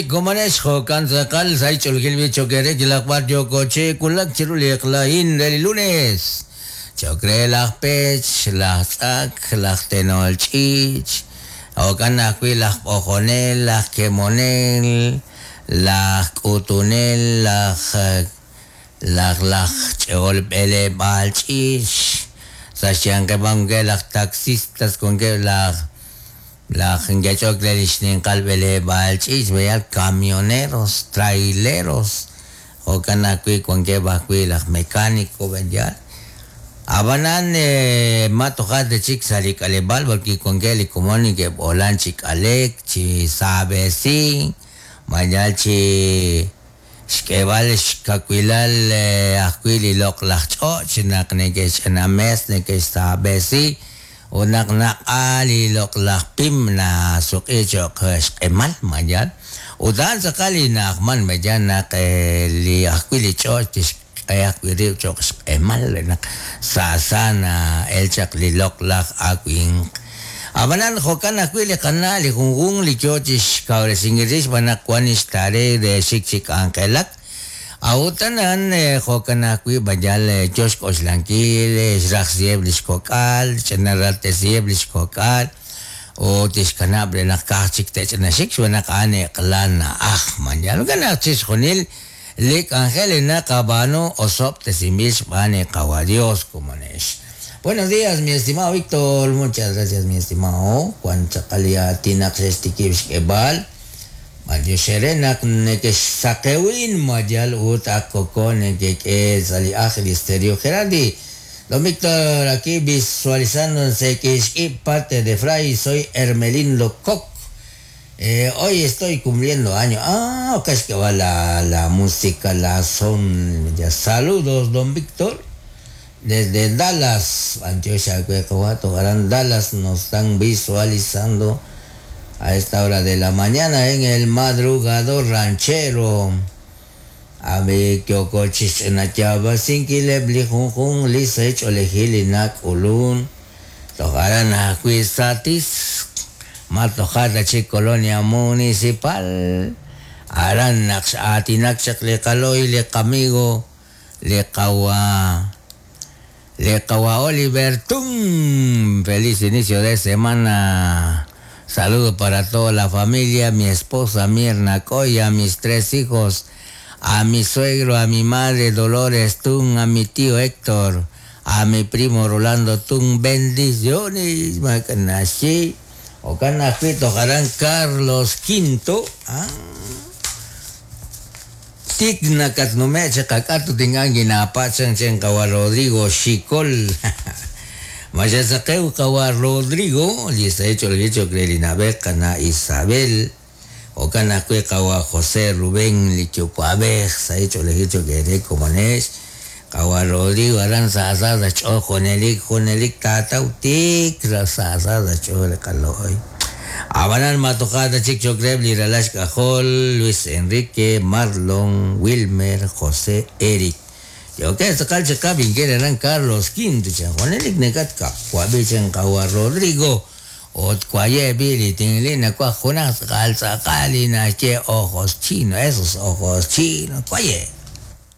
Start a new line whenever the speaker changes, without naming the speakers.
Komonex jo'kan tz'aqal sa' xch'oolil b'i cho'q eere yalaq b'ar yooko chi wulak chiru li eq'la a'in re li lunes. Cho'q re laj pech, laj tz'ak, laj tenol ch'iich', jo'kan ajwi' laj b'ojonel, laj kemonel, laj k'utunel, laj laj laj ch'e'ol b'eleb'aal ch'iich', sa' xyanqeb' wankeb' laj taxistas, wankeb' laj Laj nke'ch'ok re li xninqal b'eleb'aal ch'iich' b'eyal camioneros, traileros, jo'kan ajwi' wankeb' ajwi' laj mecánico b'eyal. Ab'anan ma toja' ta chik sa' li k'aleb'aal b'arwi' wankeb' li komon neke'b'oolan chi k'alek, chi saab'esink, mayal chi xk'eeb'al xkawilal ajwi' li loq'laj ch'och' naq neke'xch'ina mes, neke'xsaab'esi ut naq naq'a li loq'laj pim nasuq'i cho'q xq'emal mayal. Ut a'an tz'aqal li na'ajman mayal naq li ajwi' li ch'och' tixk'e ajwi' rib' cho'q xq'emal re naq saasa na'el chaq li loq'laj awimq. Ab'anan jo'kan ajwi' li qana' li junjunq li yo chi xkawresinkil rix xb'aan naq wank li xtare re xik chi k'anjelak. A'ut a'an jo'kan ajwi' b'ayal yo xk'oxlankil xrajsiheb' li xkok'al, xch'inaraltesiheb' li xkok'al ut tixkanab' re naq ka'aj chik te'ch'inaxik xb'aan naq a'an eq'la na'aj. Mayal jo'kan naq chixjunil li k'anjel li naqab'aanu osob'tesinb'il xb'aan li Qawa' Dios komonex. Buenos días, mi estimado Víctor. Muchas gracias, mi estimado. Wan tz'aqal li aatin naq xe'xtikib' xk'eeb'al. B'antiox eere naq nekexsaqewin mayal ut ak koko nekek'e sa' li ajl li Stereo Gerardi. Don Víctor, aquí visualizando en Sequixquip, parte de Fray, soy Hermelindo Coc. Hoy estoy cumpliendo año. Ah, ok, es que va la, la música, la son. Ya, saludos, don Víctor. Desde Dallas, Antioquia, Aran Dallas, nos están visualizando a esta hora de la mañana en el madrugador ranchero. Abi kyokochis nachaba sinkileb li junjun li sech'olejil li nak'ulun. Tojaran ajwi' satis ma tojata chik colonia municipal. Aran naq x'aatinak chaq li qaloy li qamigo li qawa li qawa Oliver Tum. Feliz inicio de semana. Saludo para toda la familia, mi esposa Mirna Coya, mis tres hijos, a mi suegro, a mi madre Dolores Tun, a mi tío Héctor, a mi primo Rolando Tun. Bendiciones, Macanashi. Ocanajui tojarán Carlos V. Ah. Tiknakat numeche kakatu tingan ginapachan chen kawa Rodrigo Xicol. Mayasakeu kawa Rodrigo, lista hecho el hecho que na Isabel. Okanakue kawa José Rubén Lichucuabej, sa hecho el hecho que re como nes. Kawa Rodrigo Aranza Asada cho Jonelik Jonelik tatau tik asada cho le kaloy. Abanan Matojada Chic Chocreb, Liralash Cajol, Luis Enrique, Marlon, Wilmer, José, Eric. Yo que sakal chaka binkeran Carlos V, Juanelik Necatka, Juabichan Kawa Rodrigo, Ot Cuaye Bili, Tinglina, Cuajunas, Calzacalina, Che, ojos chinos, esos ojos chinos, Cuaye.